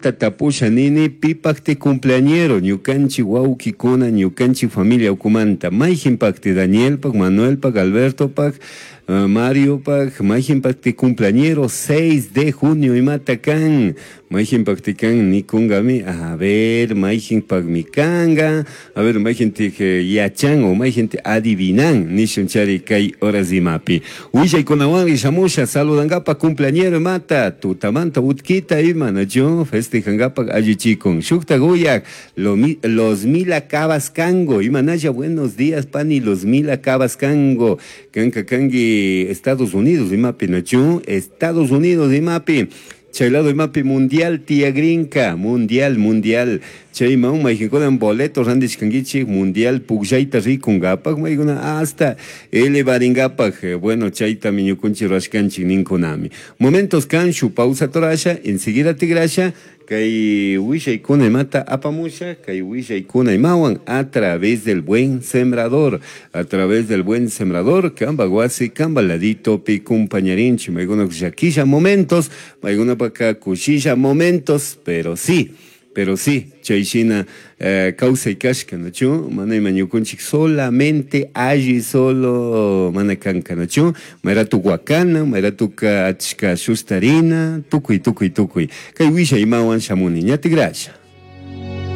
Tapusha nini pipakti cumpleañero ñukanchik wawkikuna ñukanchik familia ukumanta mayjinpakti Danielpak Manuelpak Albertopak Mariopak mayjinpakti cumpleañero 6 de junio imata kan mayjinpakti kan nikunkami a ver mayjinpakmi kanka a ver mayjintik yachan o mayjintik adivinan nishunchari kay horas imapi willaykunawanri shamusha saludankapak cumpleañero imata tutamanta utkita ima nachu festejankapak allichikun shukta uyak los mila cabas kango imanalla buenos días pani los mila cabas kango kanka kanki Estados Unidos imapi nachu Estados Unidos imapi chay lado imapi mundial tiyagrinka mundial mundial chayman mayqinkunan boleto rantishkankichik mundial pukllayta rikunkapak maykuna hasta elevarinkapak bueno chaytami ñukunchik rurashkanchik ninkunami momentos kan shuk pausa turasha enseguida tigrasha kay willaykuna imata apamusha kay willaykuna imawan a través del buen sembrador a través del buen sembrador kamba wasi kamba laditopi kumpañarinchik maykuna llakisha momentos maykunapaka kushilla momentos pero sí chayshina kawsay kashka nachu mana ima ñukunchik solamente alli solo mana kanka nachu mayratu wakana mayratuka achka shustarina tukuy tukuy tukuy kay willay imawan shamuni ña tigrasha.